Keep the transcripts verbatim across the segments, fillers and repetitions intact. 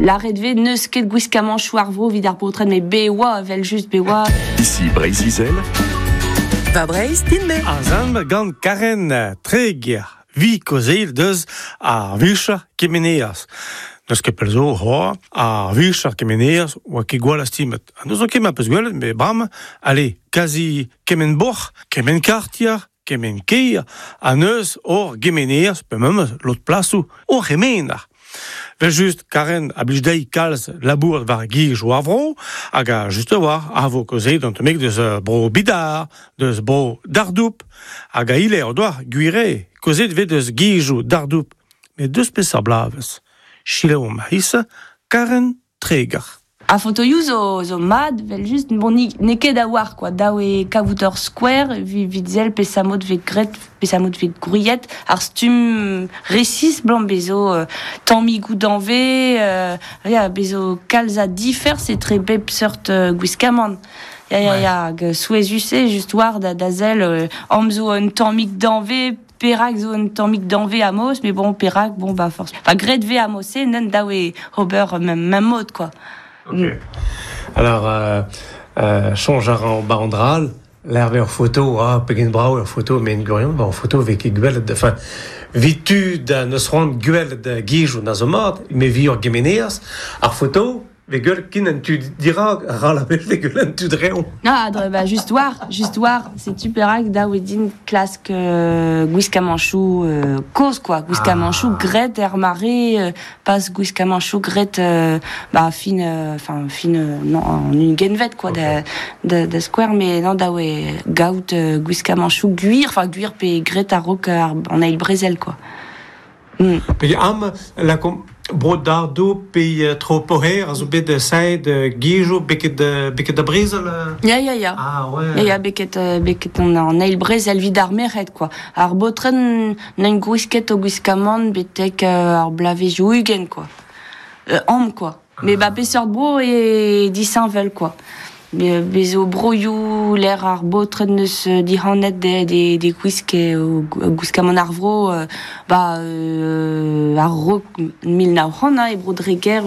Lâret 'vez n'eus ket gwiskamanchoù ar vro evit ar baotred met be oa evel just be oa. Ici Breizh-Izel. Va Breizh din-me. Ar gant Karen Treger, vi kaozeal deus ar vicher kemenerez. N'eus ket pell zo c'hoazh, ar vicher kemenerez oa ket gwall astimet. Ha n'eus ket ma peus gwelet, met bremañ, allez, kazi kement bourc'h, kement kartier, kement kêr, ha neus ur gemenerez, pe memes lod plasoù, ur c'hemener. Vel just, Karen a blij dezhi kalz labour war gizoù ar vro, hag a just a-walc'h a vo kaozeet un tammig deus bro Bidar, deus bro Dardoup, hag a ile o doa gwir eo, kaozeet 'vez deus gizoù Dardoup. Met deus peseurt bloavezh. Selaouomp a-hisse, Karen Treger. Ar fotoioù zo, zo mat, vel just, bon, n'eo ket a-walc'h, quoi. Dav eo kavout ur skouer, evit sell peseurt mod 'vez graet, peseurt mod 'vez gwriet, ar stumm resis 'blam bezo euh, tammigoù danvez, euh, ya, bezo kalz a diferz etre bep seurt euh, gwiskamant. Ya, ya, ya, hag souezhus eo just war da, da sell, euh, am zo un tammig danvez, perak zo un tammig danvez a-moz, mais bon, perak, bon, bah, force. Enfin, graet 'vez a-mod-se, neuze dav eo ober mem, mem mod, quoi. Ok. Alors, euh, euh, soñj a ran ba an dra all, lec'h 'vez ur foto, ah, pegen brav ur foto, met en gwirionez, ba ur foto 'vez ket gwelet, enfin, 'vit tud a neus c'hoant gwelet gizoù na zo mat, met 'vit ur gemenerez, ar foto, 'vez gwelet ken an tu dirak, ral a wech 'vez gwelet an tu dreñv. Ah, dre, bah, just war, just war, setu perak dav eo din klask euh, gwiskamanchoù euh, kozh, quoi. Gwiskamanchoù Ah. graet er mare, euh, pas gwiskamanchoù graet euh, bah, fin, euh, enfin, fin, euh, non, an ugentvet, quoi, Ok. da, da, da skouer, met non, dav eo gaout euh, gwiskamanchoù gwir, enfin, gwir pe graet a-raok ar, an eil brezel, quoi. Mm. Pe am, lakomp bro Dardoup pe euh, tro Poher a zo bet saet gizoù beket beket da brezel euh Ya, ya, ya. Ah ouais. Ya, ya, beket, euh, beket an, an eil brezel 'vit ar merc'hed, quoi. Ar baotred n'int gwisket o gwiskamant betek euh, ar bloavezhioù ugent, quoi. Euh, am, quoi. Mais ba peseurt bro eo disheñvel, quoi. Be, bezo broioù lec'h ar baotred neus dihanet de, de, de gwisk o gwiskamant ar vro, euh, ba euh, a-raok mil nav c'hant, hein, e bro Dreger,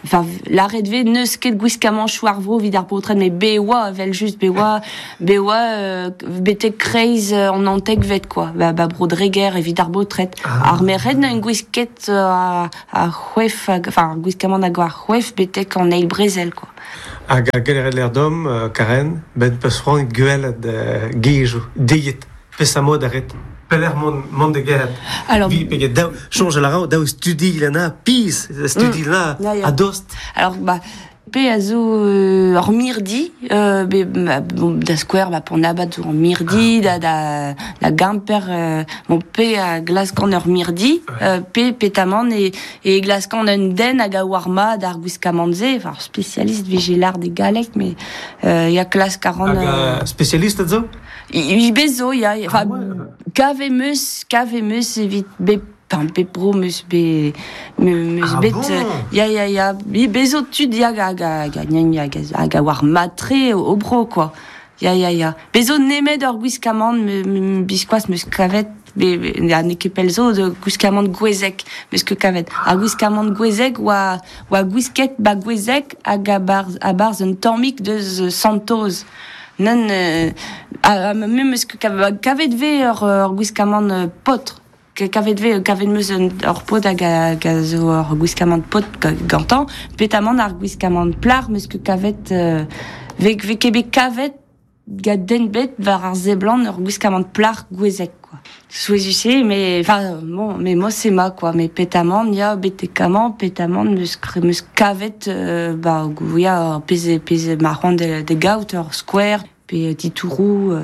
enfin, lâret 'vez n'eus ket gwiskamanchoù ar vro 'vit ar baotred, met be oa, evel just, be oa, be oa euh, betek kreiz an naontekvet, quoi. Ba, ba bro Dreger evit ar baotred. Ah. Ar merc'hed n'int gwisket euh, a, a c'hwef, hag, enfin, ar gwiskamant hag ar c'hwef betek an eil brezel, quoi. Hag a geleret l'air dom, euh, Karen, ben peus c'hoant gwelet euh, gizoù, diet, peseurt mod a ret. Pelec'h mont, mont da gerc'hat. Alors, Vi, peget daou, soñj a ran, daou studi lana, pizh, studi lana, Ya, ya. a dost. Alors, bah, pe a zo euh, ur mirdi, euh, be, ba, bon, da skouer, ba, Pont-'n-Abad zo ur mirdi, da, da, da Gemper, euh, bon, pe a glaskan ur mirdi, euh, pe petamant e, e glaskan un den hag a oar mat ar gwiskamant-se, enfin, spécialiste 'vije lâret e galleg, mais euh, ya klask a ran... Hag euh, euh, spécialiste a zo? I, i bezo, ya, enfin, Ah ouais. kavet 'meus, kavet 'meus evit bep, enfin, bep bro 'meus be, me, meus Ah bet, bon euh, ya, ya, ya, bi bezo tud ya hag hag hag hag hag a oar mat-tre o, o bro, quoi. Ya, ya, ya. Bezo nemet ur gwiskamant, me, me, biskoazh 'meus kavet, be, be, na n'eo ket pell zo de gwiskamant Gouezeg, 'meus ket kavet. Ar gwiskamant Gouezeg oa, oa gwisket ba Gouezeg hag a-barzh, a-barzh un tammig deus Santoz. Nann, euh, a, a, me 'meus ket kavet, kavet 'vez ur, ur gwiskamant euh, paotr. Kavet 'vez, kavet 'meus un, ur paotr hag a, hag a zo ur gwiskamant paotr gantañ, petamant ar gwiskamant plac'h 'meus ket kavet, euh, 'vez, 'vez ket bet kavet gant den 'bet war ar seblant ur gwiskamant plac'h Gouezeg, quoi. Souezhus eo, mais, enfin, bon, mais moi c'est ma, quoi. Mais petamant, ya, betek amañ, petamant, 'meus, 'meus kavet, euh, ba, ya, pezh, pezh ma c'hoant de, de gaout ur skouer, pe titouroù, euh.